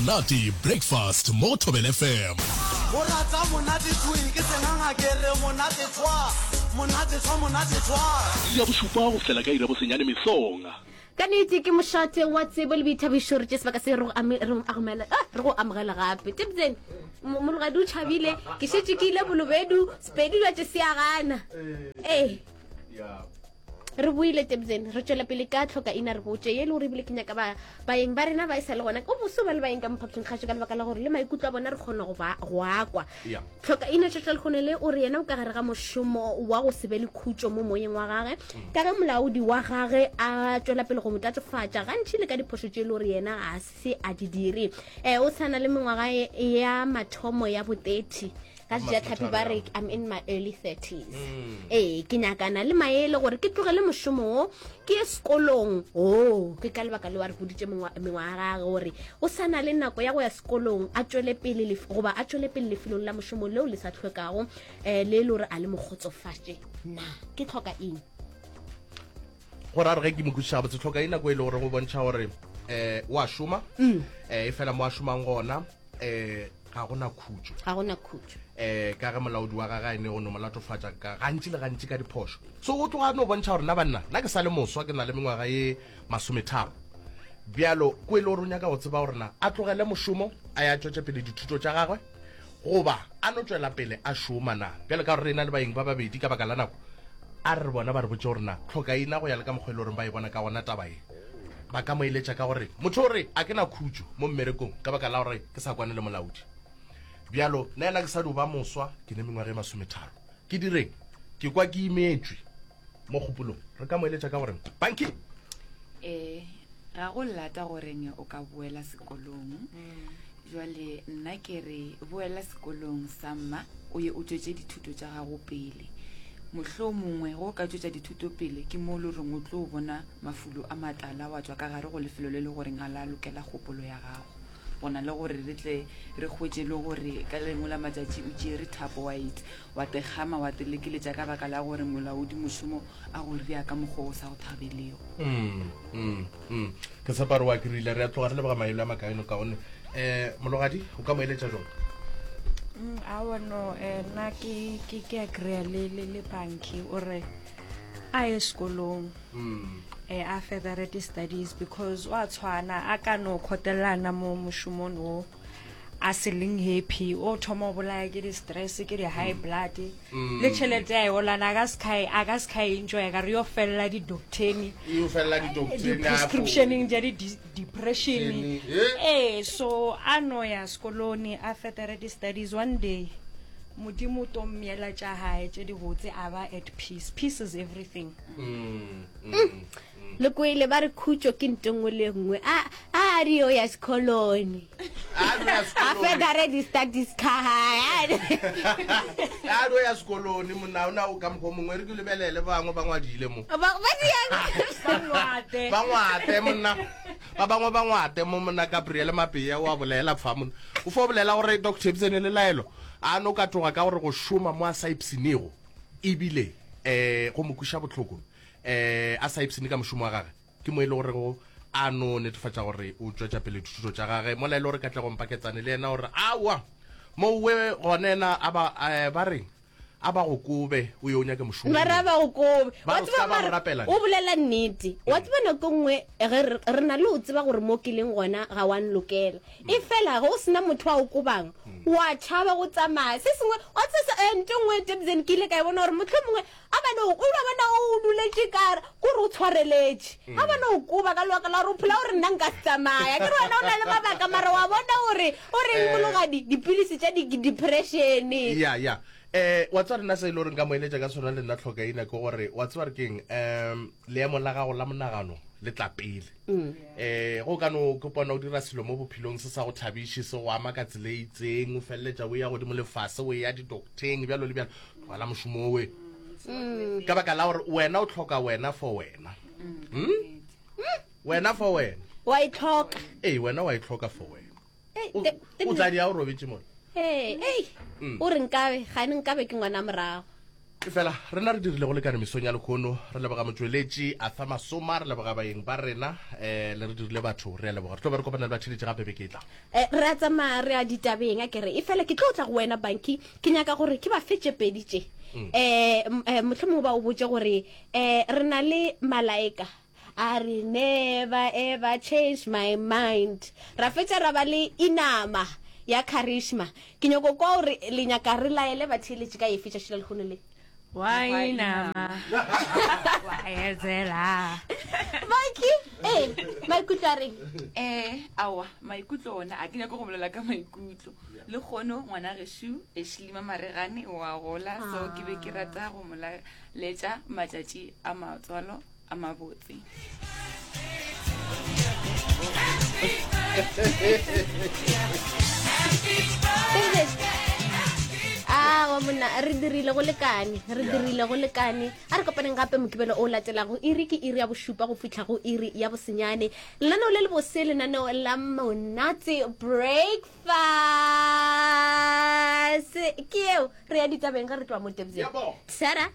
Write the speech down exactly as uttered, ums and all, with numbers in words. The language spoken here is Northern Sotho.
Monate Breakfast mo Thobela F M. Go rata monate thwi ke senganga ke re monate tshwa monate tshwa monate tshwa. Iri ya bošupa go fihlela ka iri ya bosenyane mesong. Ka nnete ke mošate wa tsebo le boithabišo, re tše sebaka se re go ame- re go amogela ah, re go amogela gape. Tebzen, mo- mologadi o tšhabile, ke šetše ke ile bolobedu, Sepedi jwa tše se a gana. Ee. Re boile Tebzen, re tšwela pele ka tlhoka ina re botše ye e le gore ebile ke nyaka ba baeng ba rena ba e sa le gona. O boso ba le baeng ka mophapošing kgašo ka lebaka la gore le maikutlo a bona re kgona go ba go a kwa. Yeah. Tlhoka ina tšatši lekgono le o re yena o ka gare ga mošomo wa go se be le khutšo mo moyeng wa gage ka ge molaodi wa gage a tšwela pele go mo tatofatša gantši le ka diphošo tše e le gore yena ga se a di dire. Um o sa na le mengwaga ya mathomo ya bo thirty ka sejatlhapi ba re I'm in my early thirties. Ee, ke nyakana le maele gore ke tlogele mošomo wo ke ye sekolong. O ke ka lebaka leo a re boditše mengwa- mengwaga ya gage gore o sa na le nako ya go ya sekolong, a tšwele pele lef- goba a tšwele pele lefelong la mošomo leo le sa hlwekago, um le e le gore a le mo kgotsofatše. Na ke tlhoka eng? Gore a re ge ke mo kwešiša gabotse, tlhoka e nako e le gore go bontšha gore um o a šoma, um e fela mo a šomang gona um ga gona khutšo. Ga gona khutšo. Um ka ge molaodi wa gage a ene go no mo latofatša ka gantši le gantši ka diphošo. So o tloga a no bontšha gore nna banna, nna ke sa le moswa, ke na le mengwaga ye masometharo. Bjalo ko e le gore o nyaka go tseba gore na a tlogele mošomo a ya tšwetše pele dithuto tša gagwe goba a no tšwela pele a šoma na. Bjalo ka gore re na le baeng ba babedi ka baka la nako, a re re bona ba re botše gore na tlhokaina go ya le ka mokgwa e le goreng ba e bona ka gona taba ye. Ba ka mo eletša ka gore motho o re a ke na khutšo mo mmerekong ka baka la gore ke sa kwane le molaodi. Bjalo nna yena ke sa dio ba moswa, ke ne mengwaga e masometharo, ke direng? Ke kwa ke imetšwe mo kgopolong. Re ka mo eletša ka gore banki Eh, ga go lata goreng o ka boela sekolong. Jwale nna ke re boela sekolong sa mma, o ye o tšwetše dithuto tša gago pele. Mohlomongwe ge o ka tšwetša dithuto pele ke mo le goreng o tlo bona mafulo a matala wa tšwa ka gare go lefelo le le goreng ga la lokela kgopolo ya gago. Go na le gore re tle re hwetše le gore ka lengwe la matšatši o tšere thapo wa it wa tekgama wa telekeletša ka baka la gore molaodi mošomo a go ria ka mokgwa o sa go thabelego. Mm, mm, mm. Ke tshepa gore wa kry-ile. Re a tloga re leboga maele a makaeno kaone. Um mologadi o ka mo eletša jang? Mm, awa no, eh, nna ke ke ke agree le le le banki o re a ye sekolong, Mm. eh, a further di studies because wa tshwana a ka no kgotelelana mo mošomong o a se leng happy, o thoma go bolaya ke di-stress, ke di-high blood, Mm. le tšhelete ya e olana a ka se ka e- a ka se ka e enjoya ka re yo felela di-docteng, E felela di-docteng, di-prescriptioneng tša di-depression. Eh? Ee, so a no ya sekolong a further di-studies, one day modimo o to mmeela tša gae tše dibotse, a ba at peace. Peace is everything. Mm, mm. Le kwele ba re khutšo ke nto nngwe le nngwe. A a re yo ya sekolong, A no ya a sekolong. further di-studies ka gae. A no ya sekolong monna, o na o ka mokgwa o mongwe re ke lebelele ba bangwe ba ngwadile mo. Ba ba diang? Ba ngwate. Ba ngwate monna, ba bangwe ba ngwate mo monna. Gabriel Mapea o a bolela fa monna, o fo bolela gore Doctor Ebsene le laelo a no ka tloga ka gore go šoma mo a sa ipshinego ebile um go mo kweša bohloko, um a sa ipshine ka mošomo wa gage, ke mo e le gore go a no netefatša gore o tšwetša pele dithuto tša gage. Mola e le gore Katlego Mpaketsane le yena gore aowa mowe gone ena a ba eh, ba reng a ba go kobe o ye o nyake mošomo. Ba ra ba go kobe. Ba Wa re tseba ska ba mara go rapela. O bolela nnete. Wa tseba nako nngwe ge re re na le go tseba gore mo ke leng gona ga wa nlokela, e fela ge o sena motho a o kobang wa tšhaba go tsamaya. Se sengwe wa tseba se- eh, nto nngwe Tebzen ke ile ka e bona gore motlho mongwe a bane o ba bona o duletše kare kore o tshwareletše, a bane o koba ka lebaka la gore o phela gore nna nka se tsamaya, ke re wena o na le mabaka mara wa bona gore o reng Eh. mologadi dipilisi tša di-depression. Ya ya eh wa tseba rena se e le gore nka mo eletša ka sona le nna tlhokaina ke gore wa tseba re keng, um leemo la gago la monagano le tla pele. Mm. Eh go ka no ke pona o dira selo mo bophelong se sa go thabiše, se go ama ka tsela e itseng, o feleletša o ya godimo lefase, o ya di-docteng bjalo le bjalo, tlogela mošomo owe Mm. ka baka la gore wena o tlhoka wena for wena. Hmm? Wena for wena. Wa e tlhoka. Ee, wena wa e tlhoka for wena. Eh, O- te- te- o tla di ya o robetse mona. Ee, ei Mm. o re nkabe gane nkabe ke ngwana morago. Efela rena re dirile go lekane mesong ya lekhono, re leboga motšweletši Arthur Masoma, re leboga baeng ba rena, um le re dirile batho, re a leboga. Re tlo ba re kopana le batheeletši gape beke e tla. Eh, re a tsamaya re ya ditabeng a kere, efela ke tlo tla go wena Banki, ke nyaka gore ke ba fe tše pedi tše. Eh, m- eh, mohlomongwe ba o botše gore eh re na le Malaika a re never ever change my mind, ra fetša ra ba le Inama ya Charisma. Ke nyako kwa gore le nyaka re laele batheeletši ka efe tšatši la lehono le. Wa inama wa etsela. Banki, ee, maikutlo a reng? Eh, aowa, maikutlo ona a ke nyako go bolela ka maikutlo. Le kgono ngwana gešo Ashley Maregane wa gola, so ke be ke rata go mo laletša matšatši a matswalo a mabotse. Awa monna, re dirile go lekane, re dirile go lekane. A re kopaneng gape mokibelo o latelago, iri ke iri ya bošupa go fihla go iri ya bosenyane. Lenaneo le le bose, lenaneo la monate breakfast ke eo. Re ya ditabeng ge re tloga mo Tebseng. Yebo. Sara.